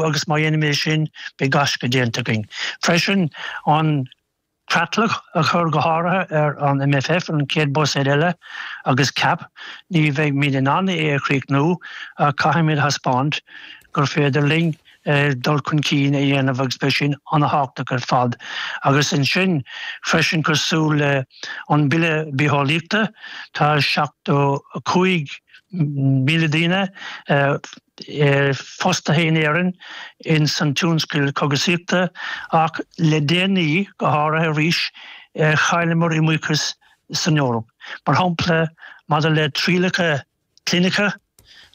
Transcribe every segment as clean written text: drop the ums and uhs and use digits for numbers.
chríochnú agus má dhéanaimid é sin beidh gaisce déanta againn. Freisin an creatlach a chur go háirithe ar an MFF, an chéad buiséad eile, agus cap, ní bheimid in ann é a chríochnú ach caithfimid a thaispeáint gur féidir linn dul chun cinn a dhéanamh agus beidh sin an-thábhachtach ar fad. Agus ansin freisin cosúil le an Bille Bitheolaíochta, tá 75,000 daoine fostaithe in Éirinn ins an tionscal cogasaíochta ach le déanaí, go háirithe arís, chailleamar iomaíochas san Eoraip. Mar shampla, maidir le trialacha clinice,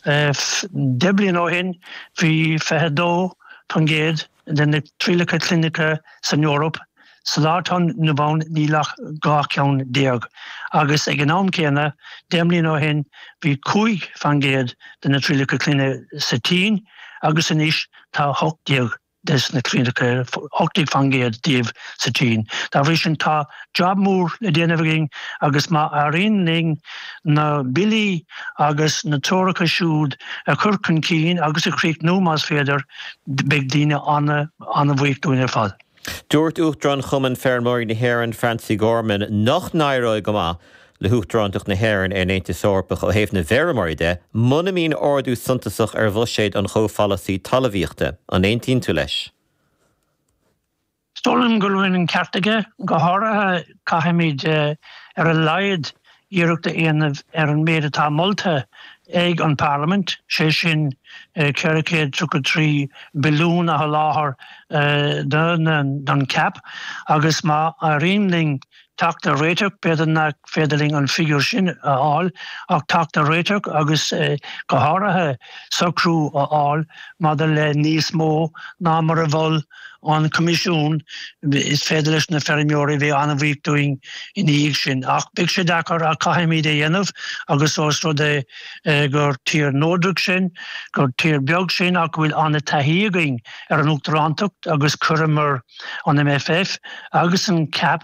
10 bliana ó shin bhí 22% de na trialacha clinice san Eoraip Sa lá atá inniu ann níl ach 12 ceann. Agus ag an am céanna, 10 mbliana ó shin, bhí 5% de na trialacha clinice sa tSín agus anois tá 18 des na trialacha, 18% díobh sa tSín. Dá bhrí sin tá jab mór le déanamh againn agus má éiríonn linn na billí agus na treoracha siúd a chur chun cinn agus a chríochnú más féidir, beidh daoine an-bhuíoch dúinn ar fad. Dúirt Uachtarán Chumann Feirmeoirí na hÉireann, Francie Gorman, nach n-éireoidh go maith le hUachtarántacht na hÉireann ar an Aontas Eorpach ó thaobh na bhfeirmeoirí de muna mbíonn ardú suntasach ar bhuiséad an chomhpholasaí talmhaíochta. An aontaíonn tú leis? Is dóigh liom go bhfuil an ceart aige. Go háirithe, caithfimid ar a laghad iarracht a dhéanamh ar an méid atá molta ag an bParlaimint, sé sin 433 billiún a sholáthar don cap agus má éiríonn linn teacht ar réiteach, b'fhéidir nach féidir linn an figiúr sin a fháil, ach teacht ar réiteach agus go háirithe socrú a fháil maidir le níos mó ná mar a mhol an Coimisiún, is féidir leis na feirmeoirí bheith an-bhuíoch dúinn ina dhiaidh sin. Ach beidh sé deacair ach caithfimid é a dhéanamh agus ós rud é gur tír neodrach sinn, gur tír beag sinn ach go bhfuil an-taithí againn ar an uachtarántacht agus chuireamar an MFF agus an cap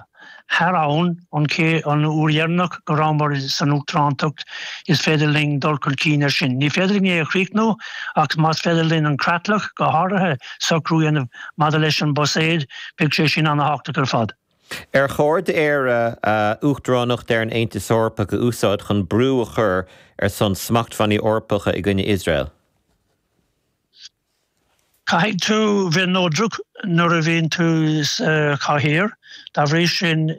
thar abhainn an an uair dheireanach go rabhamar san uachtarántacht, is féidir linn dul chun cinn air sin. Ní féidir linn é a chríochnú ach más féidir linn an creatlach, go háirithe, socrú a dhéanamh maidir leis an buiséad, beidh sé sin an-thábhachtach ar fad. Ar chóir d'Éire a uachtaránacht ar an Aontas Eorpach a úsáid chun brú a chur ar son smachtbhannaí Eorpacha i gcoinne Iosrael? Caithfidh tú bheith neodrach nuair a bhíonn tú sa chathaoir. Dá bhrí sin,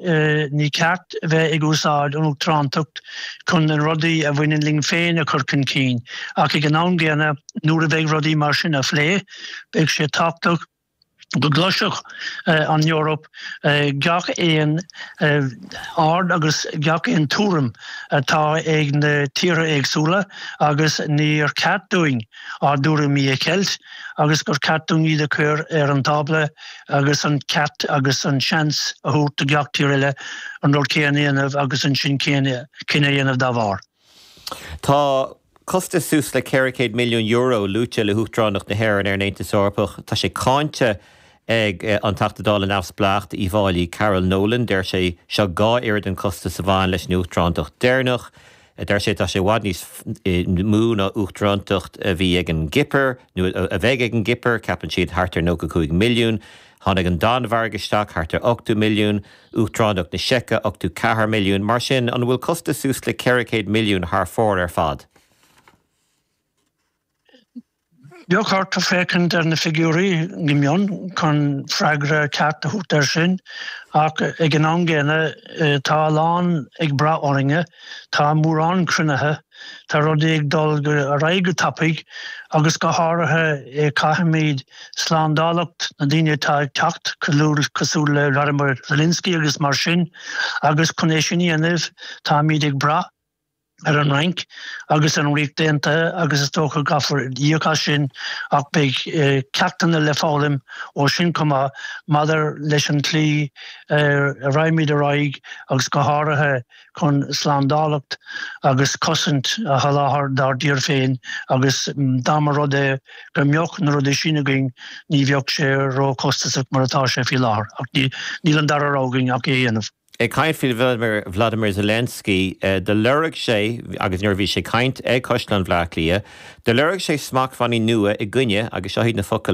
ní ceart bheith ag úsáid an uachtarántacht chun na rudaí a bhaineann linn féin a chur chun cinn. Ach ag an am gcéanna, nuair a bheidh rudaí mar sin á phlé, beidh sé tábhachtach go gcloisfeadh an Eoraip gach aon aird agus gach aon tuairim atá ag na tíortha éagsúla agus níor cheart dúinn ár dtuairimí a cheilt agus gur ceart dúinn iad a chur ar an tábla agus an ceart agus an seans a thabhairt do gach tír eile an rud céanna a dhéanamh agus ansin cinneadh a dhéanamh dá bharr. Tá costas suas le €400 milliún luaite le hUachtaránacht na hÉireann ar an Aontas Eorpach. Tá sé cáinte ag an Teachta Dála neamhspleách d'Uíbh Fhailí, Carol Nolan. Deir sé, seo 2 oiread an costas a bhain leis an Uachtarántacht deireanach. Deir sé tá sé i bhfad níos mó ná uachtarántacht a bhí ag an gCipir, nó a bheidh ag an gCipir, ceapann siad thart ar 95 milliún. Tháinig an Danmhairg isteach, thart ar 80 milliún. Uachtaránacht na Seice, 84 milliún. Mar sin, an bhfuil costas suas le 400 milliún thar fóir ar fad? Bheadh ort féachaint ar na figiúirí go mion chun freagra ceart a thabhairt air sin, ach ag an am gcéanna tá a lán ag brath orainne, tá mórán cruinnithe, tá rudaí ag dul ar aghaidh go tapaidh agus go háirithe caithfimid slándálacht na ndaoine atá ag teacht cosúil le Vladimir Zelensky agus mar sin agus chun é sin a dhéanamh táimid ag brath ar an Fhrainc agus ar an Ríocht Aontaithe agus is dócha go gcaithfear íoc as sin ach beidh ceachtanna le foghlaim ó sin chomh maith maidir leis an tslí a raghaimid ar aghaidh agus go háirithe chun slándálacht agus cosaint a sholáthar dár dtír féin agus dá mba rud é go mbeadh na rudaí sin againn ní bheadh sé ró-chostasach mar atá sé faoi láthair ach níl an dara rogha againn ach é a dhéanamh. Ag caint faoi Vladimir Zelensky, do lorg sé, agus nuair a bhí sé ag caint ag Caisleán Bhaile Átha Cliath, do lorg sé smachtbhannaí nua i gcoinne, agus seo iad na focail a.